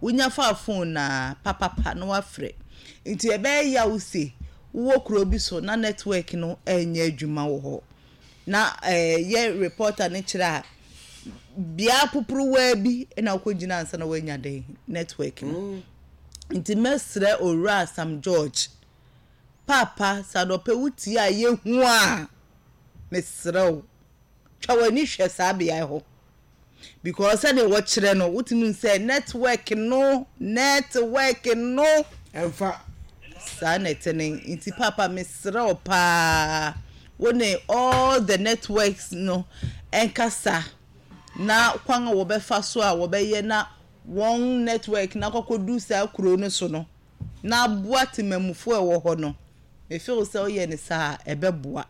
Wonya faa phone no a, papapa na woafrɛ. Nti ɛbɛyɛ yaw se wowɔ kuro bi so na network no ɛnyɛ adwuma wɔ hɔ. Na yɛ reporter no kyerɛ a, bea poporowaa bi na wokɔgyina ansa na woanya dɛn network no. Nti mɛsrɛ Owura Sam George, paapa sɛ anɔpɛ wotie a yɛhu a, mesrɛ wo, twa w'ani hwɛ saa beae hɔ. Because sɛdeɛ wɔkyerɛ no, wotumi hu sɛ network no, network no. Ɛmfa. Saa na ɛte no. Nti paapa mesrɛ wo paa, wo ne all the networks no nkasa na kwan a wɔbɛfa so a wɔbɛyɛ na wɔn network no akɔkɔdu saa kuro no so no na aboa temamufoɔ a ɛwɔ hɔ no. Me feel sɛ woyɛ no saa a, ɛbɛboa.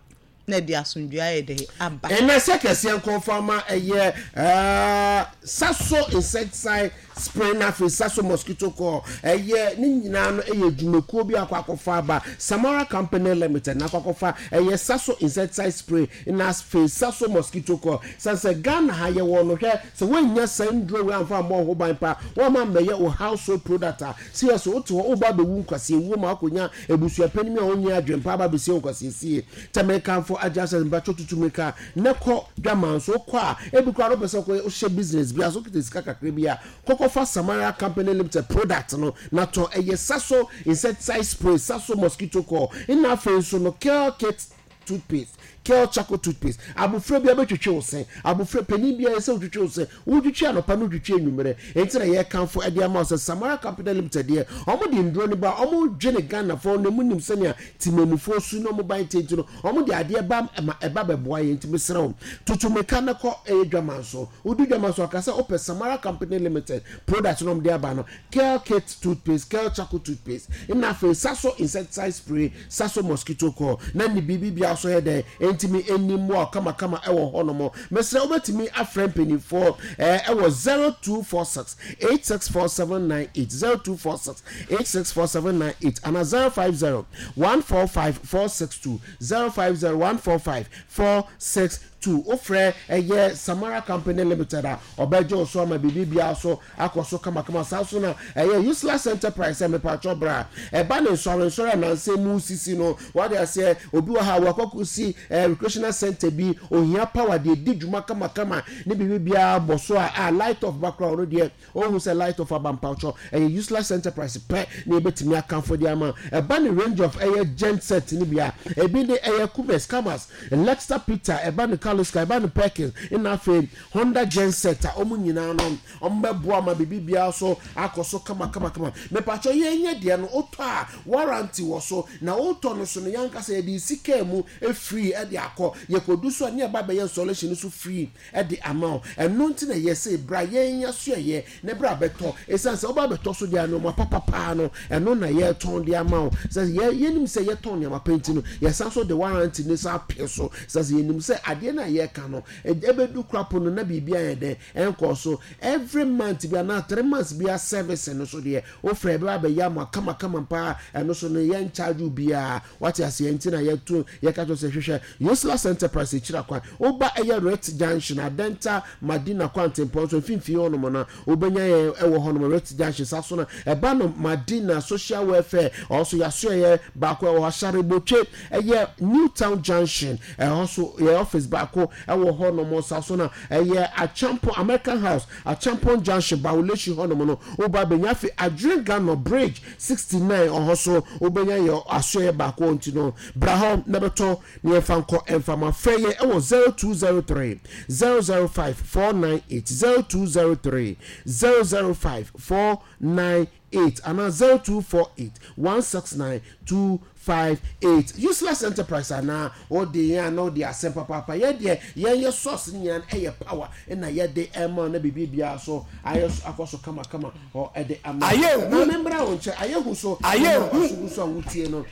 na ɛde asomdwoeɛ ayɛ dɛn aba. Ɛnɛ sɛ kɛseɛ nkɔmfa ma ɛyɛ Saso insecticide spray na afei Saso mosquito coil ɛyɛ ne nyinaa no ɛyɛ dwumakuo bi akɔ akɔfa aba Samara Company Limited na akɔ akɔfa ɛyɛ Saso insecticide spray na afei Saso mosquito coil san sɛ Ghana ha yɛwɔ no hwɛ sɛ woannya saa nnuro wei amfa ammɔ wo ho ban pa woamma ammɛyɛ wo household product a Serious wote hɔ woba abɛwu nkwaseawuo ma wakɔnya abusua panin a ɔnni adwene pa aba abɛsie wo nkwaseasie. Tɛ mekamfo agya sɛ mpakyɛw tutu mirika na kɔ dwaman so wokɔ a ebi koraa no wopɛ sɛ wokɔ wohyɛ business bi ase wokita sika kakra bi a kɔ kɔfa Samaria Company Limited product no na tɔ ɛyɛ Saso insecticide spray, Saso mosquito coil nna afei nso no Kel Kit toothpaste, Kel charcoal toothpaste. Abofra biara bɛtwetwe wo se. Abofra, panin biara ɛsɛ sɛ wotwetwe wo se. Wotwetwe anɔpa na wotwetwe anwummerɛ. Enti na yɛrekamfo de ama wo sɛ Samara Company Limited deɛ, wɔde nnuro no ba, wɔdwene Ghanafoɔ na wɔnim sɛnea temanmufoɔ su na wɔn ban te nti no, wɔde adeɛ ba ma ɛba bɛboa yɛn. Nti mesrɛ wo, tutu mmirika na kɔ ɛyɛ dwaman so. Wodu dwaman so a, ka sɛ wopɛ Samara Company Limited product no a wɔde aba no. Kel Kit toothpaste, Kel Charcoal toothpaste, nna afei Saso insecticide spray, Saso mosquito coil, na ne biribi biara nso yɛ dɛn ɛntumi nni mmoa wo kamakama ɛwɔ hɔ nom. Mesrɛ wobɛtumi afrɛ mpaninfoɔ ɛwɔ 0246 864798, 0246 864798 anaa 050 145 462, 050 145 462. Wofrɛ ɛyɛ Samara Company Limited a ɔbɛgye wo so ama biribi biara so akɔ so kamakama. Saa nso na ɛyɛ Useless Enterprise sɛ mepakyɛw bra. Ɛba ne nsɔrensɔre a nnansa yi mu sisi no, wate aseɛ, obi wɔ ha a wakɔ akɔsi eh, recreational center bi, ohia power de adi dwuma kamakama ne biribi biara bɔ so a, a light off ba koraa ɔno deɛ ɔnhu sɛ light off aba mpakyɛw. Ɛyɛ Useless Enterprise pɛ na yɛbɛtumi akamfo de ama. Ɛba ne range of ɛyɛ gen set no bi a, ebi ne ɛyɛ Cubes, Camas, Lexter Peter, ɛba ne Carloscar, ɛba ne Perkins, ɛna afei Honda gen set a wɔn nyinaa no Wɔbɛboa ma biribi biara so akɔ so kamakamakama. Mepakyɛw yɛn nyɛ deɛ no wotɔ a warranty wɔ so na wotɔ no so no yɛn ankasa yɛde resi car mu free de akɔ. Yɛkɔdu so a ne yɛba abɛyɛ installation no so free de ama wo. Ɛno nti na yɛse bra yɛn asoɛeɛ na bra bɛtɔ. Ɛsiane sɛ woba bɛtɔ so deɛ a nnoɔma papa paa no ɛno na yɛretɔn de ama wo. Sɛ yɛ yɛnim sɛ yɛtɔn nnoɔma pa nti no yɛsan so de warranty no san pɛ so. Ɛsiane sɛ yɛnim sɛ adeɛ no a yɛreka no ɛbɛdu korapo no na biribi ayɛ dɛn Ɛnkɔ so every month bi anaa 3 months bi a service no so deɛ wofrɛ ɛbɛba abɛyɛ ama kamakama paa. Ɛno so no yɛn charge wo biara, wate aseɛ? Nti na yɛto yɛka kyerɛ sɛ hwehwɛ Useless Enterprise akyiri akwan. Woba ɛyɛ Rit Junction, Adenta Madina kwantempɔn so mfimfini hɔnom no wobɛnya yɛn ɛwɔ hɔnom, Rit Junction. Saa so no ɛba no Madina Social Welfare ɔso yɛasoɛyɛ baako ɛwɔ hɔ, Asharebotwe ɛyɛ New Town Junction ɛhɔ so yɛ office baako ɛwɔ hɔnom. Saa so na ɛyɛ Acheampong American House, Acheampong Junction, Bawulehyi hɔnom no woba abɛnya. Afei Adwene Gano Bridge 69 ɔhɔ so wobɛnya yɛ asoɛyɛ baako. Nti no bra hɔ na bɛtɔ na yɛmfa nkɔ ɛmfa ma. Frɛ yɛ ɛwɔ 0203 005 498, 0203 005 498 anaa 0248 169 258. Useless Enterprise anaa wode yɛn a na wode asɛm papaapa. Yɛn deɛ yɛn yɛ source no nyinaa no ɛyɛ power ɛna yɛde ɛma na biribi biara so ayɛ so akɔ so kamakama hɔ ɛde ama. Ayɛ hu. Maame mbra wo nkyɛn, ayɛ hu so. Ayɛ hu. Ɔso gu so a wotie no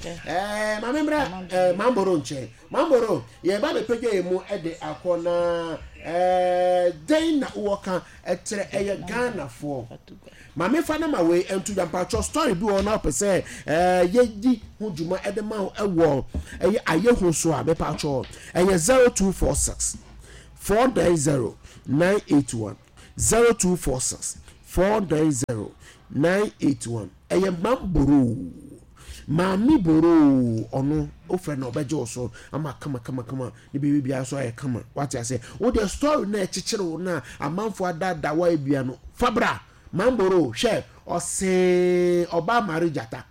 maame mbra mamboro nkyɛn. Mamboro, yɛba bɛpagya yɛn mu ɛde akɔ na dɛn na wowɔ ka ɛkyerɛ ɛyɛ Ghanafoɔ? Maame fa na ma wei nto dwa. Mpatsɔ story bi wɔ hɔ na wopɛ sɛ yɛdi ho dwuma ɛde ma wo ɛwɔ ɛyɛ ayɛ ho so a, mepatsɔ ɛyɛ 0246 490 981, 0246. 490 981. Ɛyɛ Mam Boroo. Maame Boroo ɔno wofrɛ no ɔbɛgye wo so ama kama kama kama ne biribi biara so ayɛ kama. Wate aseɛ? Wo deɛ story no a ɛkyekyere wo no a amanfoɔ adaadaa wo ayɛ bia no fa bra. Mam Boroo hwɛ ɔsee ɔbaa Mare Gyata.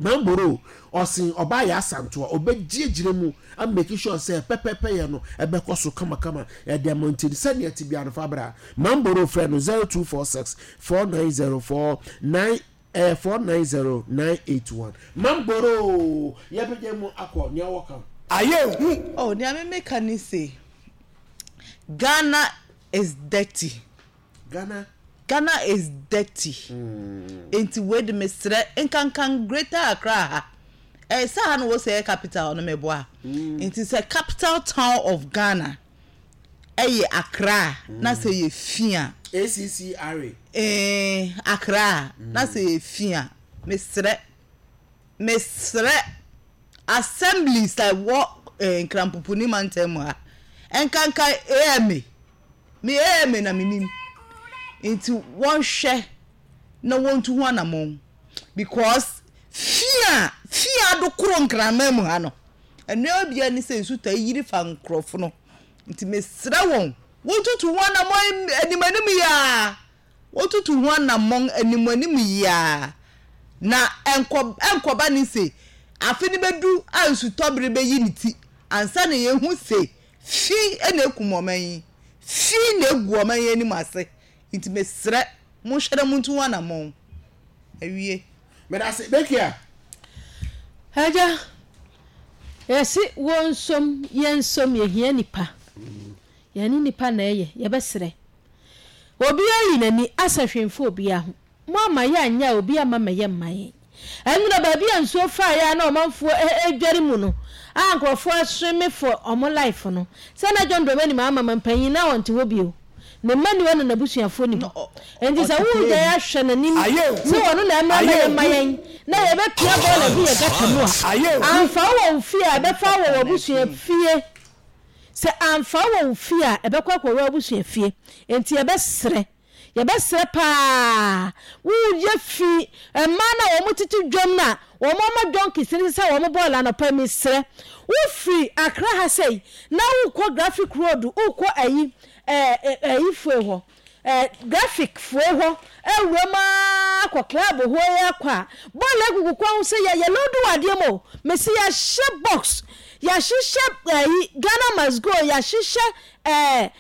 Mamboro ɔsen ɔbaa yɛ asantoa ɔbɛgye agyina mu a make sure sɛ pɛpɛpɛ yɛ no ɛbɛkɔ so kamakama ɛde ama nti sɛnea ɛte biara no fa bra Mamboro frɛ no 0246 490 49 ɛyɛ 490 981 Mamboro yɛbɛgya mu akɔ nea wɔka. Ayɛ hu. Oh nea me meka ne se Ghana is dirty. Ghana. Ghana is dirty nti wei de mesrɛ nkankan Greater Accra ha ɛyɛ sɛ ha na wɔ sɛ ɛyɛ capital no meboa nti sɛ capital town of Ghana ɛyɛ Accra na sɛ yɛ fi a ACCRA. Eh Accra na sɛ yɛ fi a mesrɛ mesrɛ assemblies a ɛwɔ eh, Nkrampopuni mantam mu ha nkankan AMA Me AMA na menim nti wɔnhwɛ na wɔntu ho anamɔn because fi a fi adokoro nkraman mu ha no ɛnoa bia ne sɛ nsu taa yiri fa nkorɔfo no nti mesrɛ wɔn wɔntutu ho anamɔn anim anim yi ara wɔntutu ho anamɔn anim anim yi ara na ɛnkɔ ɛnkɔba ne se afe no bɛdu a nsutɔbere bɛyi ne ti ansa na yɛhu se Fi na ekum ɔman yi. Fi na egu ɔman yi anim ase. Nti mesrɛ, monhwɛ na muntu ho anammɔn. Awie. Medase, Bekia. Agya, yɛse wo nsom, yɛn nsom, yɛhia nipa. Yɛne nipa na ɛyɛ, yɛbɛsrɛ. Obiara yi n'ani, asɛ hwee mfa obiara ho. Moamma yɛanyɛ a obi amma mmɛyɛ mma yɛn. Ɛnora baabi a nsuo faeɛ a na ɔmanfoɔ redware mu no a nkurɔfoɔ asweme for wɔn life no, sɛ na John Dramani Mahama mampanyin na ɔnte hɔ bio. Ne mma nni hɔ na n'abusuafoɔ nni hɔ. Enti sɛ woregyae ahwɛ n'anim sɛ ɔno na ɛmmra mmɛyɛ mma yɛn na yɛbɛpia bɔɔla agu yɛn gata mu a, amfa wo wɔ wo fie a ɛbɛfa wo wɔ w'abusua fie. Sɛ amfa wo wɔ wo fie a ɛbɛkɔ akɔwura w'abusua fie. Enti yɛbɛsrɛ. Yɛbɛsrɛ paa wo yɛ fi mmaa no a wɔn tete dwam no a wɔn ama donkeys no sesa wɔn bɔɔla anɔpa yi mesrɛ wo firi Accra ha sei na wo kɔ graphic road wo kɔ ayi ɛɛ ayi foe hɔ ɛɛ graphic foe hɔ awura mu aa kɔ club hɔ yi akɔ a bɔɔla agugu kwan ho sɛ yɛ yɛ load wɔ adeɛ mu o mesi yɛahyɛ box yɛahyehyɛ ayi Ghana must go yɛahyehyɛ ɛɛ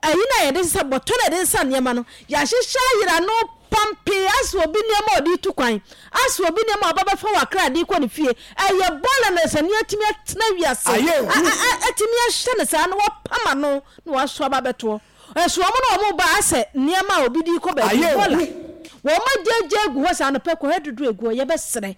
Ayi no a yɛde sesa bɔtɔ no a yɛde sesa nneɛma no, yɛahyehyɛ ayera ano pampee asɛ obi nneɛma a ɔde retu kwan, asɛ obi nneɛma a ɔba bɛfa wɔ Accra de rekɔ ne fie. Ɛyɛ bɔɔla na sɛ nea atumi atena wiase atumi ahyɛ no saa na wapam ano na waso aba abɛtoɔ. Nso wɔn na wɔn ba asɛ nneɛma a obi de rekɔ baabi bɔɔla. Wɔn agyaagyaa agu hɔ saa anɔpa kɔhwɛ dodoɔ egu hɔ yɛbɛsrɛ.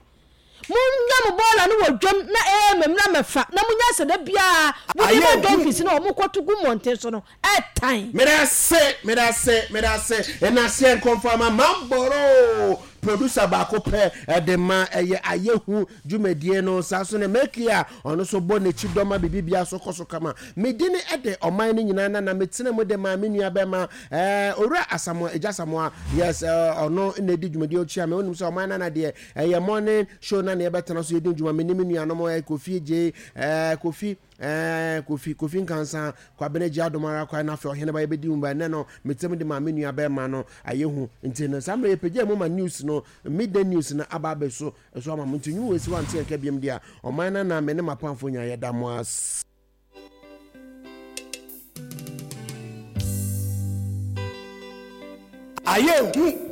Monnya mo bɔɔla no wɔ dwam na ɛɛmɛ mmra mmɛfa na monya sɛ da biara mode ma donkeys no a wɔkɔto gu mmɔnten so no ɛtan. Medase medase medase nnaseɛ nkɔmfama mamboro producer baako pɛ ɛde ma ɛyɛ ayɛhu dwumadie no saa nso ne Meki a ɔno nso bɔ n'akyi dɔ ma biribi biara so kɔ so kama me dini ɛde ɔman no nyinaa na na metena mu de maa me nua bɛma ɛɛ owura Asamoah Agya Asamoah yes ɔno na ɛdi dwumadie ɔkyia me wonim sɛ ɔman nana deɛ Ɛyɛ morning show na na yɛbɛtena so yɛdi dwuma me ne me nuanom ɛ Kofi Gye ɛ Kofi ɛ Kofi Kofi Nkansa Kwabena Gye Adom ara kwan na afei ɔhene ba yɛbɛdi mu ba ɛnɛ no metem de ma me nua bɛrima no ayɛ hu nti no saa mmerɛ yɛpagya mu ma news no midday news no aba abɛso so ama mo nti nwu wɔ esi wante yɛn ka biam deɛ ɔman no na me ne m'apamfo nya yɛda mo ase. Ayɛ hu.